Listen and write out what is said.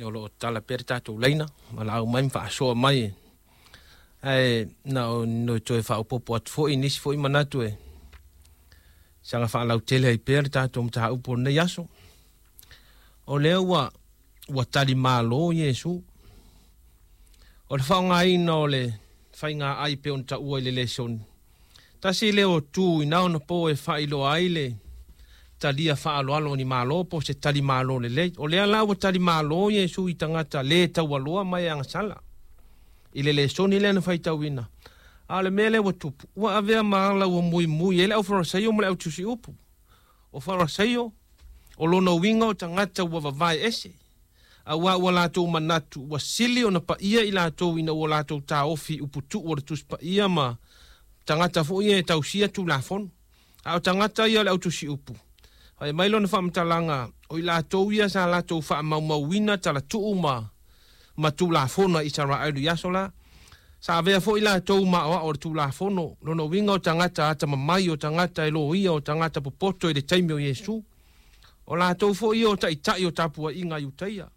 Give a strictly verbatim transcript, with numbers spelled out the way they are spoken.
O lo o tatala pea le tatou laina, valaau mai ma faasoa mai. Ae na o no toe faaopoopo atu foi nisi foi manatu e saga faalautele ai pea le tatou mataupu o lenei aso. O lea ua ua talimalo Iesu. O le faaaogaina o le faiga ai pei ona taua i le lesoni. Tasi lea o tu i na ona po e faailoa ai le talia faaaloalo o ni malo po o se talimalo lelei. O lea la ua talimalo Iesu i tagata le taualoa ma e agasala i le lesoni lea na faitauina. A o le mea lea ua tupu, ua avea ma ala ua muimui ai le aufarasaio ma le autusiupu. O Farasaio, o lona uiga o tagata ua vavae ese, auā ua latou manatu ua sili ona paia i latou ina ua latou taofi i uputuu o le Tusi Paia ma tagata foi ia e tausia Tulafono. A o tagata ia o le autusiupu, fai mai lona faamatalaga, o i latou ia sa latou faamaumauina talatuu ma ma Tulafono a Isaraelu i aso la. Sa avea foi latou ma aoao o le Tulafono, lona uiga o tagata atamamai, o tagata e loia, o tagata popoto i le taimi o Iesu. O latou foi ia o taitai o tapuaiga a Iutaia.